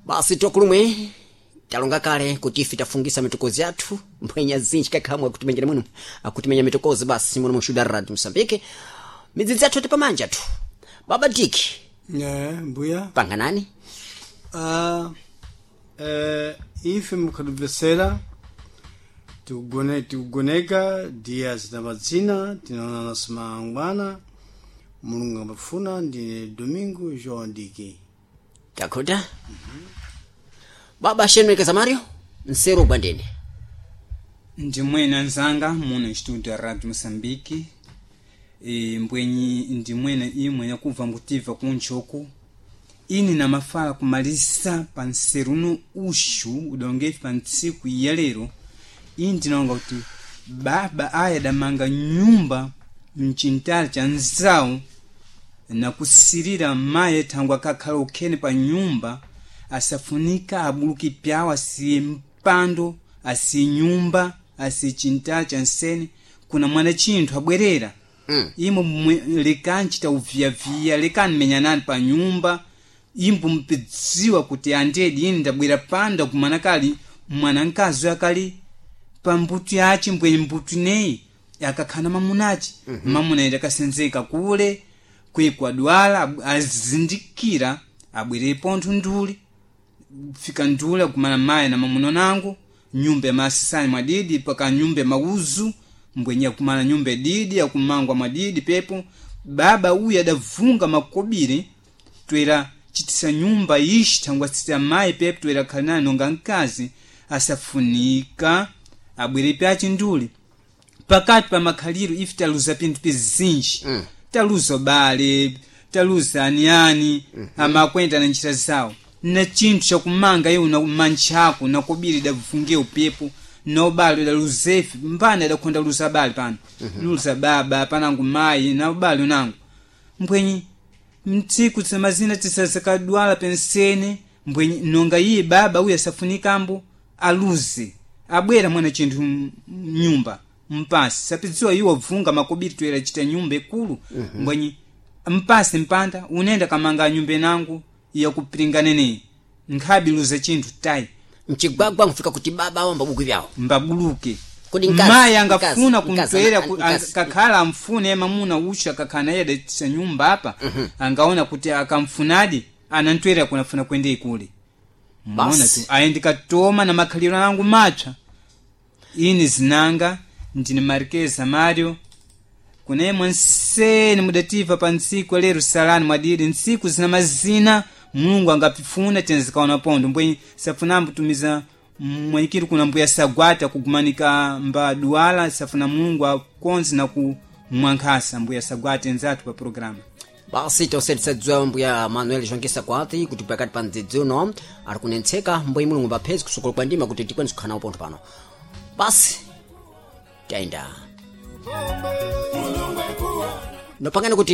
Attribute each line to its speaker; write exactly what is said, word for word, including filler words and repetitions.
Speaker 1: Basi tokulumwe talonga kale kuti ife tafungisa mitokozi yathu mbwenya zinji kakhamwe akutimengera mwino akutimenya mitokozi basi muno mushuda radio Msambike midzidzi yathu tipamanja tu baba diki
Speaker 2: Eh, mbuya
Speaker 1: panganani
Speaker 2: Ah, eh, ife mukhatubvesera tikugone tikugoneka dias na madzina tinaonana simangwana mulungu ambafuna ndine domingo joão diki
Speaker 1: takhuta baba shenwekeza mario nsero ubwandene
Speaker 3: ndimwene anzanga muno instituto ya radio moçambique e, mbwenyi ndimwene imwe yakubva ngutiva kunchoku ini namafala kumalisa pa nseru uno uxu udongefi pa ntsiku ya lero ini ndinalonga kuti baba aya adamanga nyumba mchintali cha nzawu nakusirira mayi thangwe akakhala ukhene pa nyumba asafunika abuluki pyawo asiye mpando asiye nyumba asiye chintali cha nsene kuna mwana chinthu abwerera
Speaker 1: Mm.
Speaker 3: imo mwe- lekani chita uviyaviya lekani menyanani pa nyumba imbo mpidziwa kuti andedi ine ndabwera pano ndakumana kali mwana mkazi akali pa mbuto yace mbwenye mbuto ineyi akakhala mamunace mm -hmm. mamuna ida akasenzeka kule kwikwadwala ab- azindikira abwere pontho nduli fika nduli akumana mayi na mamuna nangu nyumba ya masisani mwadidi paka nyumba ya mauzu mbwenye akumana nyumba didi akumangwa mwadidi pepo baba uyu adavunga makobiri twera chitisa nyumba ishi thangwa sita mayi pepo twera khala nonga mkazi asafunika abwere pyace nduli pakati pa makhaliro ife taluza pinthu pizinji mm. taluza bale taluza aniani mm -hmm. amakwenda na njira zawo na chinthu chakumanga iwo na mantchako nakobiri davufunge upepo na ubale udaluzefe mpana idakhonda luza bale pano mm -hmm. luza baba panangu mayi na ubale unangu mbwenyi mtsiku tsamazina tisazakadwala pensene mbwenyi nonga iye baba uyu asafunikambo aluze abwera mwana chinthu m- mnyumba mpasi sapidziwa iwo vunga makobiri toera chita nyumba ikulu mm-hmm. mbwenyi mpasi mpanda unenda kamanga nyumba inangu yakupiringanene nkhabi luza chinthu tayi
Speaker 1: mchigwagwa nkufika kuti baba awo mbabuku vyawo
Speaker 3: mbabuluke
Speaker 1: Kodi mkazi-
Speaker 3: mayi angafuna
Speaker 1: mkazi- mkazi-
Speaker 3: kumtwera ku-
Speaker 1: mkazi-
Speaker 3: ang- kakhala amfune mamuna ucha kakhala naye adatisa nyumba apa angaona kuti akamfunadi anantwera kunafuna kwende ikule mona
Speaker 1: Basi.
Speaker 3: tu ayi ndikatoma na makhaliro angu matsva ini zinanga ndine marikeza mario kunemwe nsene mudativa pa ntsiku lero salani mwadidi ntsiku zina mazina mulungu angapifuna tenzikaona pondo mbwenyi safunambo tumiza mwenyikiri kuna mbuya sagwata kugumanika mba duwala safuna mulungu akonzi na kumwankhasa mbuya sagwata enzathu pa programa
Speaker 1: Basi tonse tisadziwa mbuya Manuel Jonkisa kwati kuti pakati pa mdzidzi uno ari kunentseka mbuyi mulungu mbaphezi kusukulu kwa ndima kuti tikwanise kukhala nawo pontho pano basi tayenda nopangani kuti